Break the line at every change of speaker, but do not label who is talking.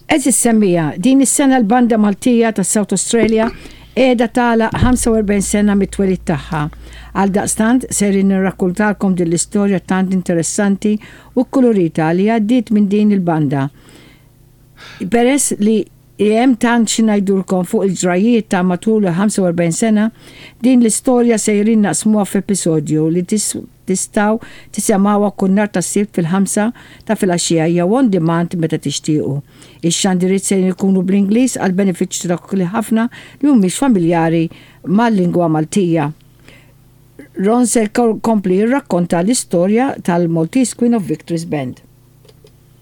Għeżież semmiegħa, din is-sena l-Banda Maltija ta' South Australia qiegħda tagħlaq 45 sena mit-twelid tagħha. Għaldaqstant sejrin nirrakkuntalkom din l-istorja tant interessanti u kkulurita li għaddiet minn din il-banda. Peress li hemm tant xi ngħidulkom fuq il-ġrajjiet ta' matul il-45 sena, din l-istorja sejrin naqsmuha f'episodju li tistgħu tisemgħuha kull nhar ta' Sibt fil-ħamsa ta' filgħaxija jew on demand meta tixtiequ. Ix-xandiriet sejrin ikunu bl-Ingliż għall-benefiċċju ta' dawk li ħafna li mhumiex familjari mal-lingwa Maltija. Ron se jkompli jirrakkonta l-istorja tal-Maltese Queen of Victories Band.